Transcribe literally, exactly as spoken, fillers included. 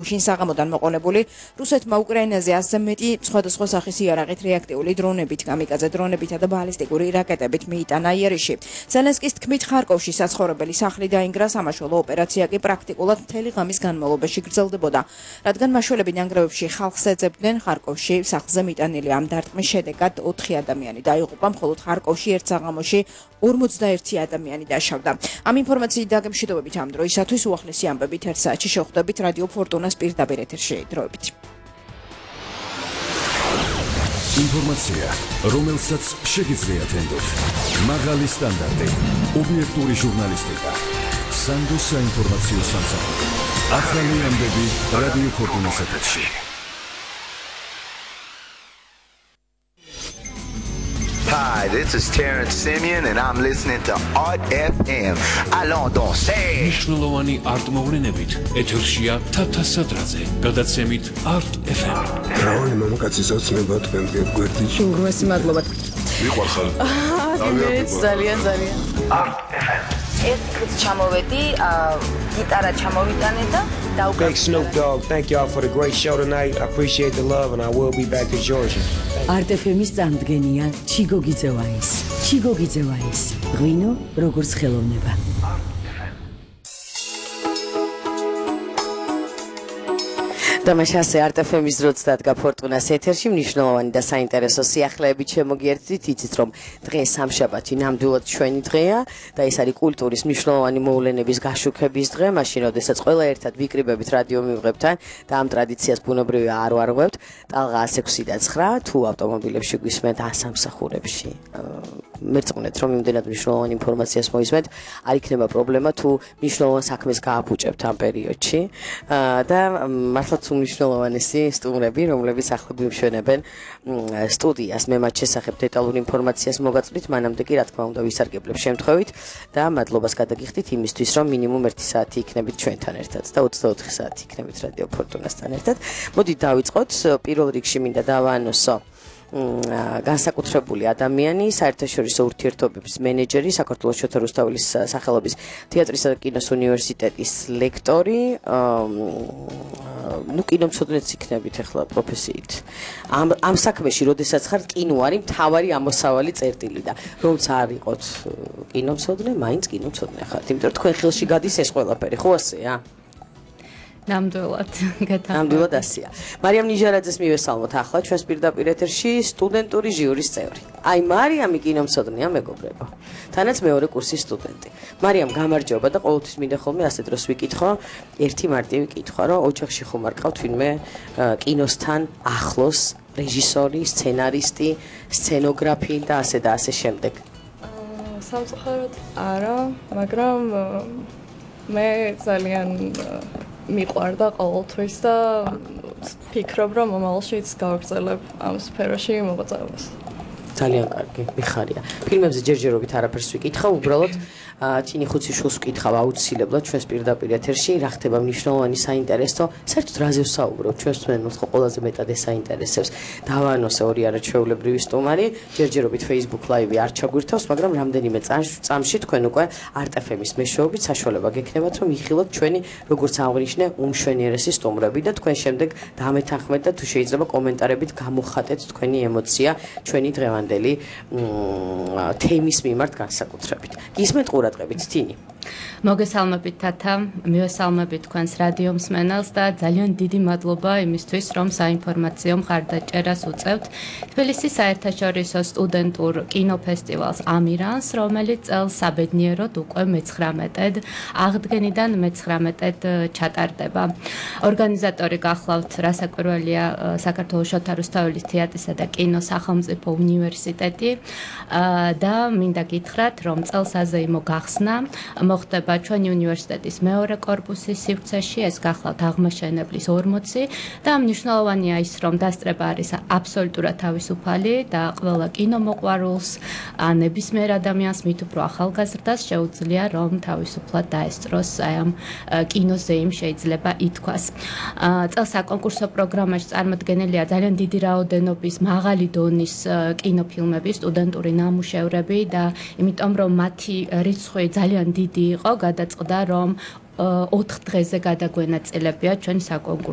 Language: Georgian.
შინ საღამოდან მოყოლებული რუსეთმა უკრაინაზე ასზე მეტი სხვადასხვა სახის იარაღით რეაქტიული დრონებით, კამიკაძე დრონებითა და ბალისტიკური რაკეტებით მიიტანა იერიში. ზელენსკის თქმით, ხარკოვში საცხოვრებელი სახლი დაინგრა, სამაშველო ოპერაცია კი პრაქტიკულად მთელი ღამის განმავლობაში გრძელდებოდა. რადგან მაშველები ნანგრევებში ხალხს ეძებდნენ, ხარკოვში სახლზე მიტანილი ამ დარტყმის შედეგად ოთხი ადამიანი დაიღუპა, მხოლოდ ხარკოვში ერთ საღამოში ორმოცდაერთი ადამიანი დაშავდა. ამ ინფორმაციით დაგემშვიდობებით ამ დროისათვის უახლესი ამბებით ერთ საათში შევხვდებით რადიო ფორტუნა პირდაპირ ეთერში დროებით. ინფორმაცია, რომელსაც შეგიძლიათ ენდოთ. მაღალი სტანდარტი, ობიექტური ჟურნალისტიკა, სანდოს საინფორმაციო სამსახური. ახალი ამბები რადიო ფორტუნას ეთერში. Hi, this is Terrence Simeon and I'm listening to Art F M. Allons danser. მნიშვნელოვანი არტ მოვლენებით ეთერშია თათა სადრაძე. გადაცემით Art F M. რაული მამაკაცის ოცნება თქვენ გვერდით. უგრმესი მადლობა. მიყვარხარ. ძალიან ძალიან. Art F M. ეს კრიც ჩამოვედი, გიტარა ჩამოვიტანე და Big Snoop Dogg, thank y'all for the great show tonight. I appreciate the love and I will be back to Georgia. Art F M-ის წამდგენია ჩიგო გიძევაის. ჩიგო გიძევაის. ღვინო როგორც ხელოვნება. დამაშასე Art F M-ის დროც დადგა ფორტუნას ეთერში მნიშვნელოვანი და საინტერესო სიახლეებით შემოგიერთდით. იცით რომ დღე სამშაბათი ნამდვილად ჩვენი დღეა და ეს არის კულტურის მნიშვნელოვანი მოვლენების გაშუქების დღე, მაშინ როდესაც ყველა ერთად ვიკრიბებით რადიო მივღებთან და ამ ტრადიციას ბუნებრივია არ ვარღვევთ. ტალღა ათს ექვსი და ცხრა თუ ავტომობილებში გვისმენთ ასამსახურებში. მერწმუნეთ რომ იმდენად მნიშვნელოვანი ინფორმაციას მოისმენთ, არ იქნება პრობლემა თუ მნიშვნელოვან საქმეს გააფუჭებთ ამ პერიოდში და მართლაც უმნიშვნელოვანესი სტუმრები, რომლებიც ახლა გვიმშვენებენ სტუდიას. მე მათ შესახებ დეტალურ ინფორმაციას მოგაწვდით, მანამდე კი რა თქმა უნდა ვისარგებლებ შემთხვევით და მადლობას გადაგიხდით იმისთვის, რომ მინიმუმ ერთი საათი იქნებით ჩვენთან ერთად და ოცდაოთხი საათი იქნებით რადიო ფორტუნასთან ერთად. მოდით დავიწყოთ. პირველ რიგში მინდა დავაანონსო განსაკუთრებული ადამიანი, საერთაშორისო ურთიერთობების მენეჯერი, საქართველოს შოთა რუსთაველის სახელობის თეატრისა და კინოს უნივერსიტეტის ლექტორი, ну კინომცოდნეც იქნებით ახლა პროფესიით. ამ ამ საქმეში, როდესაც ხარ კინო არის მთავარი ამოსავალი წერტილი და რომც არ იყოთ კინომცოდნე, მაინც კინომცოდნე ხართ. იმიტომ რომ თქვენ ხელში გადის ეს ყველაფერი, ხო ასეა? ნამდვილად გეთა. ნამდვილად ასეა. მარიამ ნიჟარაძეს მივესალმოთ ახლა ჩვენს პირდაპირ ეთერში სტუდენტური ჟიურის წევრი. აი მარიამი კინომცოდნეა მეგობრებო. თანაც მეორე კურსის სტუდენტი. მარიამ გამარჯობა და ყოველთვის მინდა ხოლმე ასე დროს ვიკითხო ერთი მარტივი კითხვა, რომ ოჯახში ხომ არ ყავთ ვინმე კინოსთან ახლოს რეჟისორი, სცენარისტი, სცენოგრაფი და ასე და ასე შემდეგ. სამწუხაროდ არა, მაგრამ მე ძალიან მიყვარდა ყოველთვის და ფიქრობ რომ მომავალშიც გავაგრძელებ ამ სფეროში მოღვაწეობას. ძალიან კარგი, მიხარია. ფილმებზე ჯერჯერობით არაფერს ვიკითხავ, უბრალოდ თინი ხუციშვილს ვკითხავ აუცილებლად ჩვენს პირდაპირ ეთერში, რა ხდება მნიშვნელოვანი საინტერესო, საერთოდ რაზე ვსაუბრობ, ჩვენს მსმენელს ხო ყველაზე მეტად ეს საინტერესებს. დავაანონსე ორი არაჩვეულებრივი სტუმარი, ჯერჯერობით Facebook Live-ი არ ჩაგვირთავს, მაგრამ რამდენიმე წამში თქვენ უკვე Art F M-ის მეშვეობით საშუალება გექნებათ, რომ იხილოთ ჩვენი, როგორც აღნიშნე, უმშვენიერესი სტუმრები და თქვენ შემდეგ დამეთანხმეთ და თუ შეიძლება კომენტარებით გამოხატეთ თქვენი ემოცია ჩვენი დღევანდელი თემის მიმართ განსაკუთრებით. გისმენთ ყურადღებით თინი. მოგესალმებით თათა, მივესალმებით თქვენს რადიო მსმენელს და ძალიან დიდი მადლობა იმისთვის, რომ საინფორმაციო მხარდაჭერას უწევთ თბილისის საერთაშორისო სტუდენტურ კინოფესტივალს ამირანს, რომელიც წელს საბედნიეროდ უკვე მეცხრამეტედ აღდგენიდან მეცხრამეტედ ჩატარდება. ორგანიზატორი გახლავთ რასაკვირველია საქართველოს შოთა რუსთაველის თეატრისა და კინოს სახელმწიფო უნივერსიტეტი და მინდა გითხრათ, რომ წელს აზეიმო გახსნა მოხდება ჩვენი უნივერსიტეტის მეორე კორპუსის სივრცეში, ეს გახლავთ აღმაშენებლის ორმოცი და მნიშვნელოვანია ის, რომ დასწრება არის აბსოლუტურად თავისუფალი და ყველა კინომოყვარულს, ნებისმიერ ადამიანს, მით უფრო ახალგაზრდას შეუძლია, რომ თავისუფლად დაესწროს აი ამ კინოზე იმ შეიძლება ითქვას. წელს საკონკურსო პროგრამაში წარმოდგენილია ძალიან დიდი რაოდენობის მაღალი დონის კინოფილმები, სტუდენტური ნამუშევრები და იმიტომ რომ მათი რიცხვი ძალიან დიდი იყო, გადაწყდა რომ ოთხ დღეზე გადაგვენაწილებია ჩვენი საკონკურსო